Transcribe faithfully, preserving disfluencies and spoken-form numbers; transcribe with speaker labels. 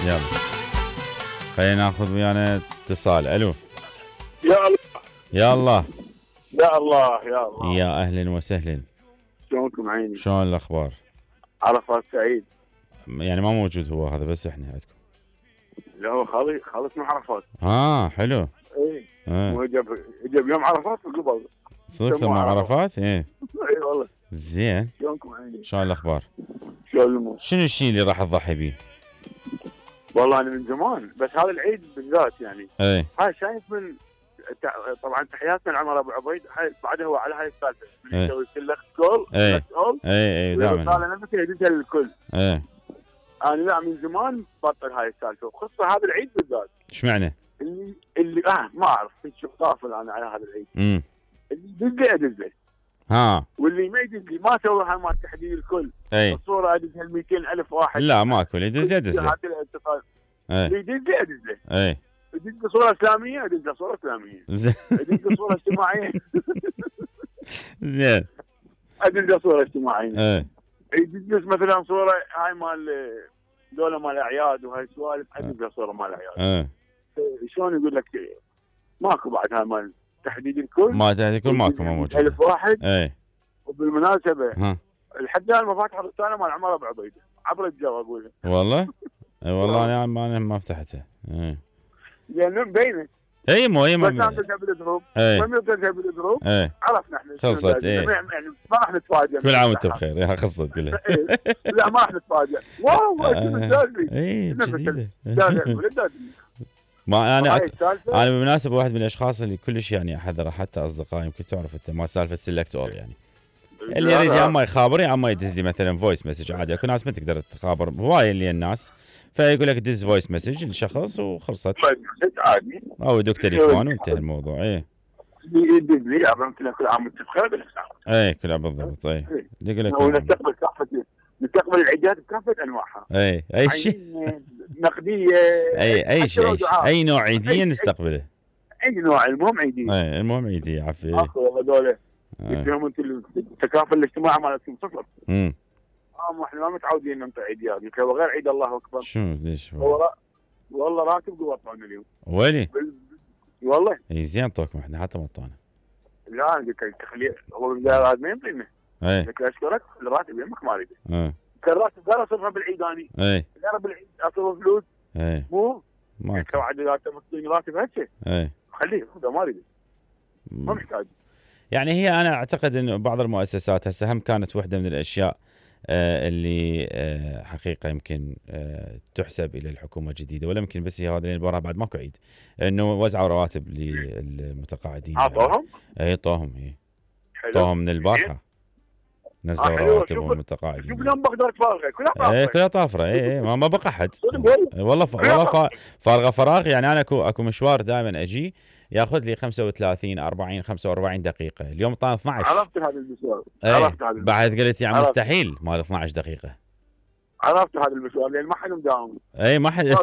Speaker 1: يلا خلينا ناخذ ويانا اتصال. الو
Speaker 2: يا الله
Speaker 1: يا الله
Speaker 2: يا الله يا الله
Speaker 1: يا اهلا وسهلا.
Speaker 2: شلونكم عيني؟
Speaker 1: شلون الاخبار؟
Speaker 2: عرفات سعيد.
Speaker 1: يعني ما موجود هو هذا بس احنا عندكم.
Speaker 2: لا هو خالي خالص من عرفات.
Speaker 1: اه حلو.
Speaker 2: اي
Speaker 1: اه
Speaker 2: هو جاب جاب يوم عرفات وقبل.
Speaker 1: صدق سمع عرفات؟ ايه
Speaker 2: اي والله.
Speaker 1: زين.
Speaker 2: شلونكم عيني؟
Speaker 1: شلون الاخبار؟
Speaker 2: شلون الامور؟
Speaker 1: شنو الشيء اللي راح تضحي بيه؟
Speaker 2: والله انا من زمان بس هذا العيد بالذات يعني.
Speaker 1: ايه
Speaker 2: هاي شايف من تع- طبعا تحياتنا لعمر ابو عبيد. هاي بعدها هو على هاي السالفه من
Speaker 1: إيه.
Speaker 2: يسوي سلك كول
Speaker 1: إيه.
Speaker 2: كول
Speaker 1: ايه ايه دائما.
Speaker 2: والرساله نفسها يدزها للكل.
Speaker 1: ايه
Speaker 2: انا لا من زمان بطل هاي السالفه وخصوصا هذا العيد بالذات.
Speaker 1: ايش معنى؟
Speaker 2: اللي اللي اه ما اعرف شو غافل انا على هذا العيد.
Speaker 1: امم
Speaker 2: اللي يدزه ادزه
Speaker 1: ها
Speaker 2: واللي ما يدز لي ما سوى هاي مال تحديد الكل.
Speaker 1: اي
Speaker 2: الصوره ادزها ل مئتين ألف واحد.
Speaker 1: لا ماكو اللي يدز له يدز له.
Speaker 2: هذه الاتصال
Speaker 1: ايه
Speaker 2: اللي يدز لي ادز له.
Speaker 1: ايه
Speaker 2: يدز له صوره اسلاميه ادز له صوره اسلاميه.
Speaker 1: زين
Speaker 2: يدز له صوره اجتماعيه
Speaker 1: زين
Speaker 2: ادز له صوره اجتماعيه.
Speaker 1: ايه
Speaker 2: يدز له مثلا صوره هاي مال دولة مال اعياد وهاي السوالف ادز له صوره مال اعياد.
Speaker 1: ايه
Speaker 2: شلون يقول لك ماكو بعد هاي مال تحديد الكل.
Speaker 1: ما تحديد الكل ماكو ما موجود.
Speaker 2: ألف واحد.
Speaker 1: ايه
Speaker 2: وبالمناسبه
Speaker 1: ها
Speaker 2: لحد الان ما فاتح الرساله مال عمر ابو عبيده عبر الجو اقول لك.
Speaker 1: والله اي والله انا ما انا ما فتحته. ايه
Speaker 2: لان مبينه
Speaker 1: اي مو اي
Speaker 2: بس
Speaker 1: ما
Speaker 2: انت بالجروب
Speaker 1: ايه
Speaker 2: ما يمكن بالجروب
Speaker 1: ايه
Speaker 2: عرفنا احنا
Speaker 1: خلصت، إيه.
Speaker 2: يعني ما راح نتفاجئ.
Speaker 1: كل عام وانت بخير. يا خلصت كلها.
Speaker 2: إيه. لا ما راح نتفاجئ. واو شنو الدازلي.
Speaker 1: اي
Speaker 2: نفس
Speaker 1: جديده.
Speaker 2: الدازلي الدازلي.
Speaker 1: ما انا
Speaker 2: هاي
Speaker 1: أك...
Speaker 2: السالفه
Speaker 1: انا بالمناسبه واحد من الاشخاص اللي كلش يعني احذره حتى اصدقائي يمكن تعرف انت ما سالفه سيلكت اول يعني اللي يريد يا اما يخابر يا اما يدز لي مثلا فويس مسج عادي. اكو ناس ما تقدر تخابر هواي اللي الناس فيقول لك دز فويس مسج لشخص وخلصت
Speaker 2: عادي
Speaker 1: او يدق تليفون وانتهى الموضوع. ايه
Speaker 2: يدز لي عرفت لك كل عام وانت بخير بالاسلام.
Speaker 1: ايه كلها بالضبط. ايه يقول لك
Speaker 2: ونستقبل كافه نستقبل العيديات بكافه انواعها.
Speaker 1: ايه اي شيء
Speaker 2: نقديه
Speaker 1: اي اي شيء اي, شيء. أي نوع عيديه نستقبله.
Speaker 2: اي نوع المهم عيديه.
Speaker 1: ايه المهم عيديه عفوا.
Speaker 2: اخو والله دولة
Speaker 1: ايه
Speaker 2: فيهم انت التكافل الاجتماعي مالتهم صفر.
Speaker 1: امم
Speaker 2: اه احنا ما متعودين ننطي عيديات يمكن غير عيد الله اكبر.
Speaker 1: شو ليش
Speaker 2: والله والله راتب قوة طعنا اليوم.
Speaker 1: ويلي
Speaker 2: والله
Speaker 1: اي زين طوكم احنا حتى مطانا.
Speaker 2: لا قلت لك تخلي هو هذا ما يمكن.
Speaker 1: ايه
Speaker 2: قلت له اشكرك الراتب يمك ما اريده.
Speaker 1: ايه
Speaker 2: كان راتب قال اصرفها بالعيداني.
Speaker 1: ايه
Speaker 2: لا بالعيد اصرف فلوس
Speaker 1: ايه
Speaker 2: مو
Speaker 1: ماكو.
Speaker 2: انت وعد اذا تمطيني راتب هسه
Speaker 1: ايه
Speaker 2: خليه خذه ما اريده ما
Speaker 1: مم.
Speaker 2: محتاج.
Speaker 1: يعني هي انا اعتقد انه بعض المؤسسات هسه هم كانت واحده من الاشياء آه اللي آه حقيقه يمكن آه تحسب الى الحكومه الجديده ولا يمكن بس هي هذا اللي وراها بعد ماكو عيد انه وزعوا رواتب للمتقاعدين.
Speaker 2: عطوهم؟
Speaker 1: اي طوهم اي
Speaker 2: حلو
Speaker 1: طوهم من البارحه نزلوا
Speaker 2: آه، حلو.
Speaker 1: رواتبهم
Speaker 2: شوف-
Speaker 1: المتقاعدين.
Speaker 2: شوف اليوم بغداد فارغه كلها
Speaker 1: ايه
Speaker 2: فارغه.
Speaker 1: كلها طافره. اي اي ما, ما بقى حد.
Speaker 2: صدق والله.
Speaker 1: إيه والله ف... والله ف... فارغه فراغ. يعني انا اكو اكو مشوار دائما اجي ياخذ لي خمسة وثلاثين أربعين خمسة وأربعين دقيقه. اليوم طال اثني عشر.
Speaker 2: عرفت هذا المشوار.
Speaker 1: ايه
Speaker 2: عرفت هذا المشوار.
Speaker 1: بعد قلت يعني
Speaker 2: عرفت.
Speaker 1: مستحيل مال اثني عشر دقيقه.
Speaker 2: عرفت هذا المشوار لان ما حد مداوم.
Speaker 1: اي ما حد